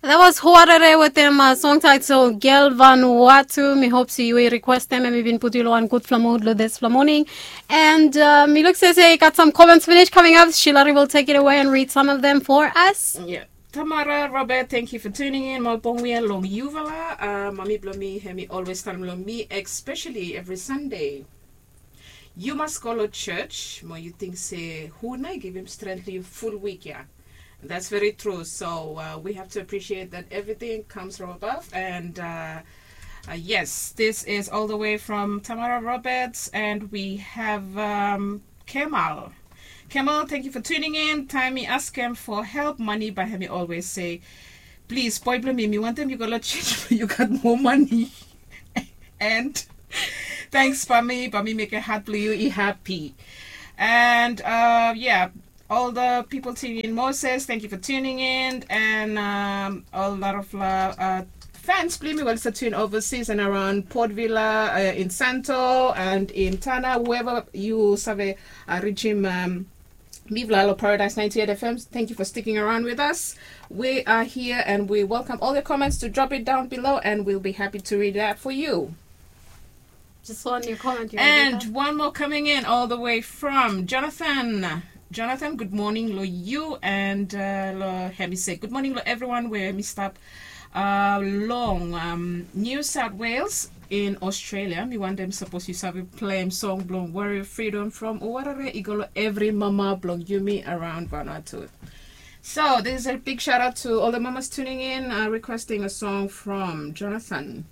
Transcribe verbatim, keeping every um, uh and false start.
That was Huarere with them uh, song title Girl Vanuatu. Mi hope se yu i request them and mi bin put yu lo wan gudfala mood lo this fala morning. And uh, mi look se se got some comments finish coming up. Shilari will take it away and read some of them for us. Yeah. Tamara Robert, thank you for tuning in. Malbongwia long yufala. Uh, mami blo mi, hemi always talem lo mi, especially every Sunday. Yu mas go lo church, mo yu ting se hu nai givim strength lo yu full week ya. That's very true. So uh, we have to appreciate that everything comes from above. And uh, uh, yes, this is all the way from Tamara Roberts, and we have um, Kemal. Kemal, thank you for tuning in. Time mi ask him for help. Money by him, he always say, please, boy, blo mi, mi want them. You got a change. You got more money. And thanks, Pami. Pami make a heart blue you. He happy. And uh, yeah, all the people tuning in. Moses, thank you for tuning in. And um, a lot of uh, uh, fans, please, well, to tune overseas and around Port Vila, uh, in Santo, and in Tana, wherever you save uh, reaching. Um, Viva Lalo Paradise ninety-eight F M. Thank you for sticking around with us. We are here and we welcome all your comments to drop it down below and we'll be happy to read that for you. Just one new comment. You And one more coming in all the way from Jonathan. Jonathan, good morning lo you and uh, lo hemi se good morning lo everyone where mi stop uh, long um, New South Wales in Australia. Mi want them suppose you save play song blong Warrior Freedom from Uwarare Igolo every mama blong Yumi around Vanuatu. So this is a big shout out to all the mamas tuning in, uh, requesting a song from Jonathan.